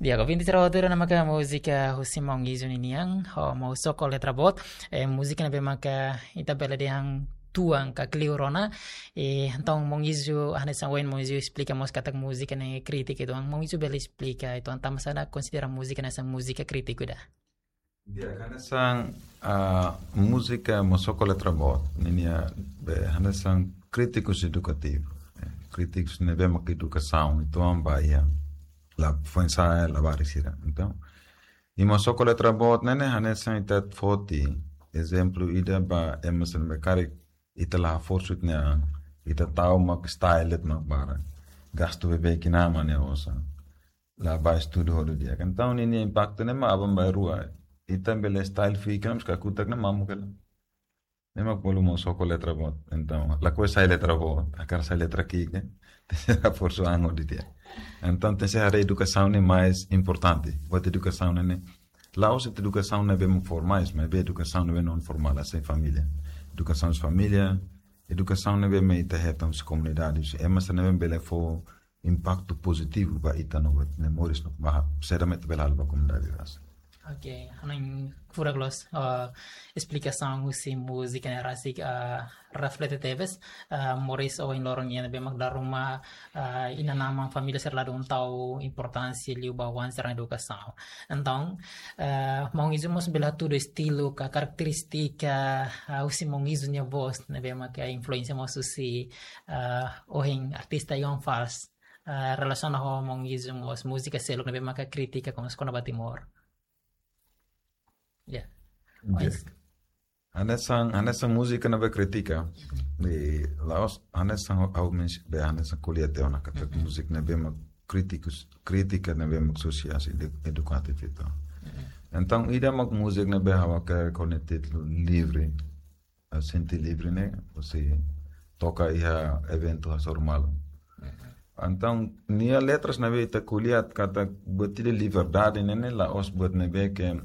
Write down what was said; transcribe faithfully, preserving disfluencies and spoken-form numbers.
Di'ak, ouvinte sira hotu, ne'e maka múzika husi Maun Izu ninian, ho Maun Soko Letra Boot, eh, múzika ne'ebé maka ita bele dehan tuan ka kleur ona, eh, entaun Maun Izu, hanesan ohin Maun Izu esplika mós katak múzika ne'e krítiku, entaun Maun Izu bele esplika, entaun tanba sá ita konsidera múzika ne'e hanesan múzika krítiku ida? Di'ak, hanesan, ah, múzika Maun Soko Letra Boot ninia be hanesan krítikus edukativu. Eh, krítikus ne'ebé mak edukasaun, entaun ba iha, la foin-sa'e, labarik sira. Entaun, i Maun Soko Letra Boot ne'e ne'e hanesan ita foti ezemplu ida ba ema sira ne'ebé karik ita la haforsu ita-nia an, ita tau mak style de'it mak barak. Gastu beibeik iha ema nia osan. La bá estudu hodi di'ak. Entaun ninia impaktu ne'e mak aban-bainrua. Ita bele style fika, mas kakutak ne'e mamuk hela. Ne'e mak bolu Maun Soko Letra Boot. Entaun, lakohi sai letra boot, hakarak sai letra ki'ik, tenke haforsu an hodi di'ak. Entaun, tenke haree edukasaun ne'e mais importante. Buat edukasaun ne'e ne'e, la'ós edukasaun ne'ebé mak formais, maibé edukasaun ne'ebé non formál, hanesan família. Edukasaun família, edukasaun ne'ebé mak ita hetan husi komunidade, husi ema sira ne'ebé bele fó impaktu pozitivu ba ita no ba ita-nia moris no ba saida mak ita bele halo ba komunidade rasik. Oke, hanoin furak loos, eh, esplikasaun husi múzika ne'e rasik, eh, reflete tebes, eh, moris ohin loron nian ne'ebé mak dala ruma, eh, inan-aman família sira la dún tau importánsia liu ba oan sira-nia edukasaun. Entaun, eh, Maun Izu mós bele hatudu estilu ka karakterístika, eh, husi Maun Izu nia vós, ne'ebé maka influénsia mós husi, eh, ohin artista Iwan Fals, eh, relasiona ho Maun Izu mós múzika seluk ne'ebé maka kritika kona-, kona-ba Timor. Ya. Di'ak. Ois. Hanesan, hanesan múzika ne'ebé kritika. Mhm. Di la'ós, hanesan ha'u mens-, be hanesan ko'alia tiha ona katak, mhm, múzika ne'ebé mak krítikus, krítika ne'ebé mak sosiál, edu-, edukativu entaun. Mhm. Entaun, ida mak múzika ne'ebé ha'u hakerek ho nia títulu livre. Eh, sente livre ne'e, husi toka iha eventu hasoru malu. Mhm. Entaun, nia letras ne'ebé ita ko'alia katak buat ida liberdade ne'e ne'e la'ós buat ne'ebé ke